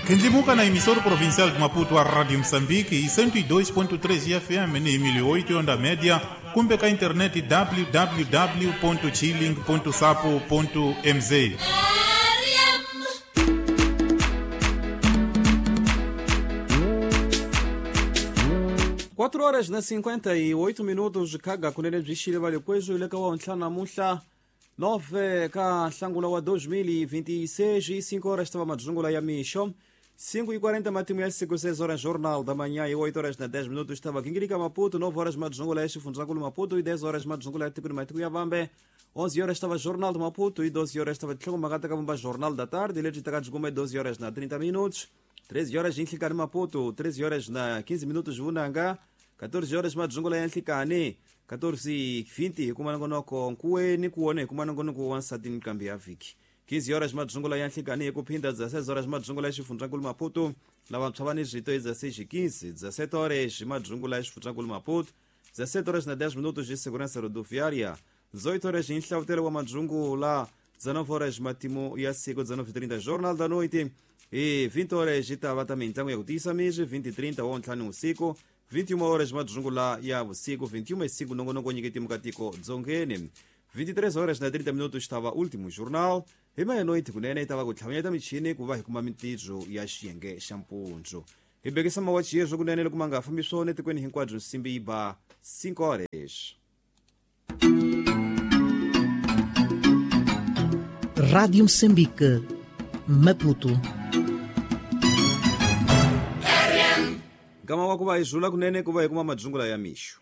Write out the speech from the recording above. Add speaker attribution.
Speaker 1: Kendlimuka na emissora provincial de Maputo, a Rádio Moçambique, e 102.3 FM ni 1008 onda média, kumbe ka internet www.chilling.sapo.mz.
Speaker 2: Quatro horas na 58 minutos kaga kunene byi vale kwezo ile ka wa ntlhanu namuntlha 9 ka nhlangula wa 2026 e 5 horas estava madzungula ya mixo 5:40 matimu ya siku 6 horas jornal da manhã e 8 horas na 10 minutos estava Quinguirica Maputo, 9 horas madzungula ya Xifundzakulu Maputo e 10 horas madzungula ya Tikuni Matiku ya Vambe. 11 horas estava Jornal de Maputo e 12 horas estava Tlhongo Magata Kavumba Jornal da Tarde, e Leite Takajuguma 12 horas na 30 minutos. 13 horas em Nhlikane Maputo, 13 horas na 15 minutos Vunanga, 14 horas madzungula ya Nhlikane, 14:20 kumanongonoko nkuweni kuone kumanongonoko wansati nkambi ya vhiki. 15 horas madzungula ya nhlikani kuphinda 16 horas madzungula ya xifundzankulu Maputo lavantshwa va ni zwito 16:15 17 horas madzungula ya xifundzankulu Maputo 17 horas na 10 minutos de segurança rodoviária 18 horas em Nhlavutelo wa madzungula 19 horas matimu ya siku 19:30 Jornal da Noite e 20 horas itava também mitlangu ya ku tiyisa miri 20:30 wa ntlhanu usiku 21 horas madzungula ya vusiku 21:05 nongonoko nyiketi mukatiko dzongeni 23 horas na 30 minutos estava último jornal hi meia-noite kunene itava ku tlhavanyeta michini ku va hi kuma mintirho ya xiyenge xa mpundzu hi bekisa mawachi yezvo kunene loko ma nga fambi swona etikweni hinkwabyo nsimbi yi ba 5 horas.
Speaker 3: Rádio Moçambique, Maputo.
Speaker 2: Nkama wa ku va hi zula kunene ku va hi kuma madzungula ya mixo.